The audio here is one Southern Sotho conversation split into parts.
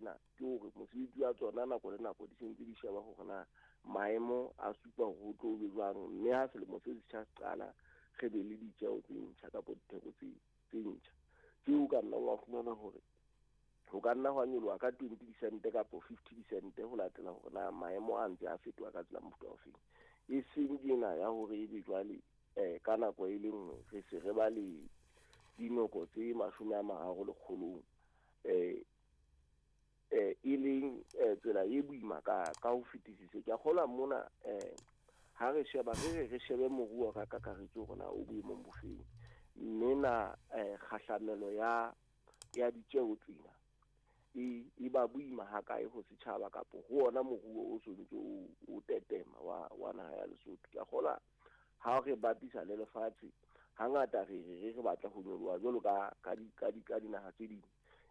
tsena ke hore mosebetsi wa tsona nako le nako di sentse di sheba hore na maemo a supa hore ho tlo be jwang, mme ha selemo se setjha se qala re be le ditjeo tse ntjha kapa ditheko tse ntjha. Tseo ka nna wa fumana hore ho ka nna hwa nyoloha ka 20 disente kapa 50 disente ho latela hore na maemo a ntse a fetoha ka tsela mofuta ofeng. E seng ena ya hore ebe jwale ka nako e le nngwe re se re ba le dinoko tse 30 lekgolong, e leng tsela e boima ka ho fetisisa. Ke a kgolwa mona ha re sheba re shebe moruo ka kakaretso hore na o boemong bofeng, mme na kgahlamelo ya ditjeo tsena e ba boima hakae ho setjhaba kapo ho ona moruo o sontse o tetema wa naha ya Lesotho. Ke a kgolwa ha re bapisa le lefatshe hangata re batla ho nyoloha jwalo ka dinaha tse ding,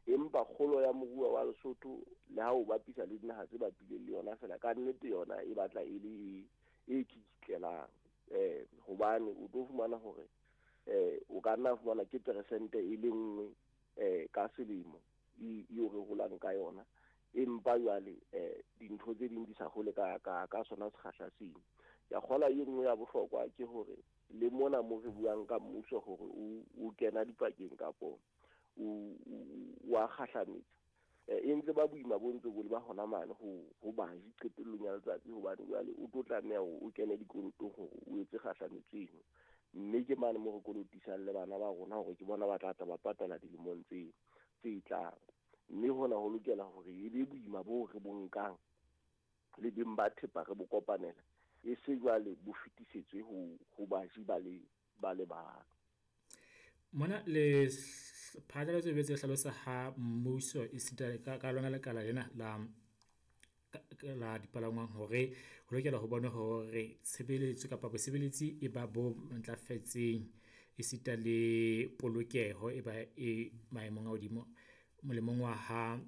empa kgolo ya moruo wa Lesotho le ha o bapisa le dinaha tse bapileng le yona fela ka nnete yona e batla e le e kikitlelang, hobane o tlo fumana hore o ka nna fumana ke peresente e le nngwe ka selemo eo re holang ka yona, empa jwale dintho tse ding di sa hole ka sona sekgahla seno. Ke a kgolwa e nngwe ya bohlokwa ke hore le mona mo re buang ka mmuso hore o kena dipakeng kapo o a kgahlametsa, e ntse ba boima bo ntse bo le ba hona mane ho baji qetellong ya letsatsi, hobane jwale o tlo tlameha hore o kene dikolotong hore o etse kgahlametso eno, mme ke mane mo re kolotisang le bana ba rona hore ke bona ba tla tla ba patala dilemong tse tlang. Mme hona ho lokela hore e be boima bo re bo nkang le beng ba thepa re bo kopanela, e se jwale bo fetisetswe ho baji ba le bang. Mona le phatlalatso e betse hlalosa ha mmuso e sita ka lona lekala lena la dipalangwang hore ho lokela ho bona hore tshebeletso kapa bosebeletsi e ba bo ntlafetseng e sita le polokeho e ba e maemong a hodimo molemong wa ha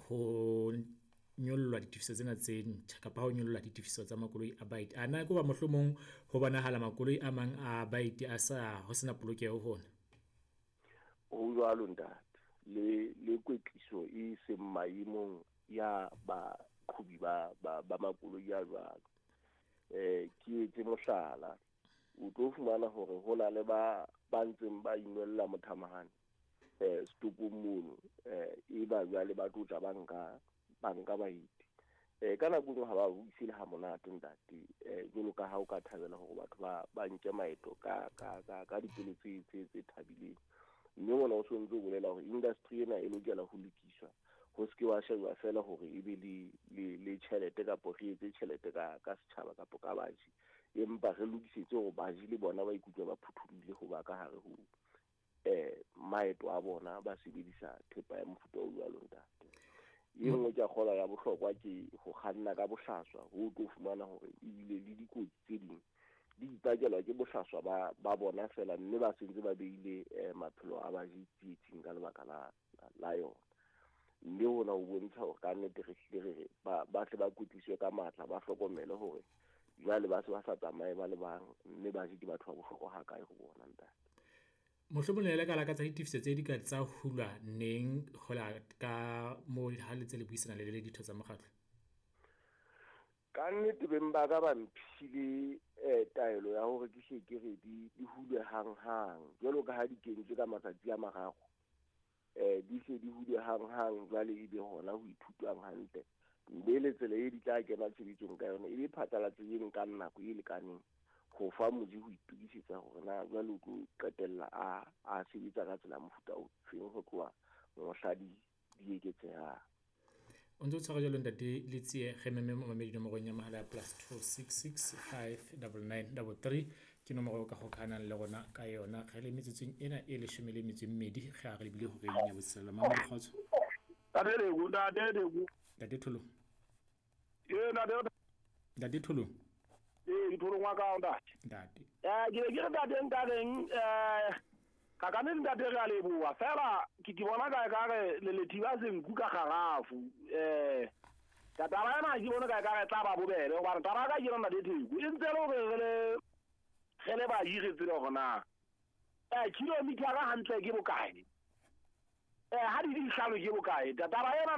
ho nyollwa ditefiso tsena tse ntjha kapa ho nyollwa ditefiso tsa makoloi a baeti. A na ke ba mohlomong ho bonahala makoloi a mang a baeti a sa ho sena polokeho hona? Ho jwalo ntate, le kwetliso e seng maemong ya baqhobi ba makoloi a jwalo. Ke etse mohlala, o tlo fumana hore ho na le ba ntseng ba inwella mothamahane setopong mono, e ba jwale ba tlo tla ba nka baeti. Ka nako nngwe ha ba buise le ha monate ntate, jwalo ka ha o ka thabela hore batho ba nke maeto ka dipelo tse thabileng. Mme mona o sontse o bolela hore industry ena e lokela ho lokiswa, ho se ke wa shejwa fela hore e be le tjhelete kapo re etse tjhelete ka setjhaba kapo ka baji, empa re lokisetse hore baji le bona ba ikutlwe ba phuthulohile ho ba ka hare ho maeto a bona ba sebedisa thepa ya mofuta o jwalo ntate. E nngwe ke a kgolwa ya bohlokwa ke ho kganna ka bohlaswa, ho tlo fumana hore ebile le dikotsi tse ding di ipakelwa ke bohlaswa ba bona fela, mme ba sentse ba beile maphelo a baji tsietsing ka lebaka la yona. Mme hona ho bontsha hore ka nnete re hlile re ba tle ba kwetliswe ka matla, ba hlokomele hore jwale ba se ba sa tsamaye ba le bang, mme baji ke batho ba bohlokwa hakae ho bona ntate. Mohlomong le ka lakatsa ditefiso tse di ka tsa hulwa neng ho la ka moo ha le tse le buisana le ditho tsa mokgatlo? Ka nnete beng ba ka ba mphile taelo ya hore ke hle ke re di hulwe hang-hang, jwalo ka ha di kentswe ka matsatsi a mararo, di hle di hulwe hang-hang, jwale ebe hona ho ithutwang hantle, mme le tsela e di tla kena tshebetsong ka yona e be phatlalatso e nkang nako e lekaneng ho fa moji ho itokisetsa hore na jwale o tlo qetella a sebetsa ka tsela mofuta o feng ho tloha mohla di eketsehang. O ntse o tshwara jwalo ntate Letsie, re meme momamedi nomorong ya mohala ya +266 599 33 ke nomoro eo ka hokahanang le rona ka yona. Re le metsotsong ena e 12 re a re lebile horeng ya botshelela. Mamedi kgotso. Ntate Tholo. Ntate Tholo. Ke Tholo ngwa ka ntate. Ntate. Ke ke re ntate nka reng ka ka ntate re a leboha fela ke bona ka re le lethiba senku ka garafu ka taba ena ke bona ka re tla ba bobebe hobane taba ka ke yona ntate Theko e ntse le hore re le ba hire tsela hore na kilometer hantle ke bokae ha di dihlano ke bokae taba ena.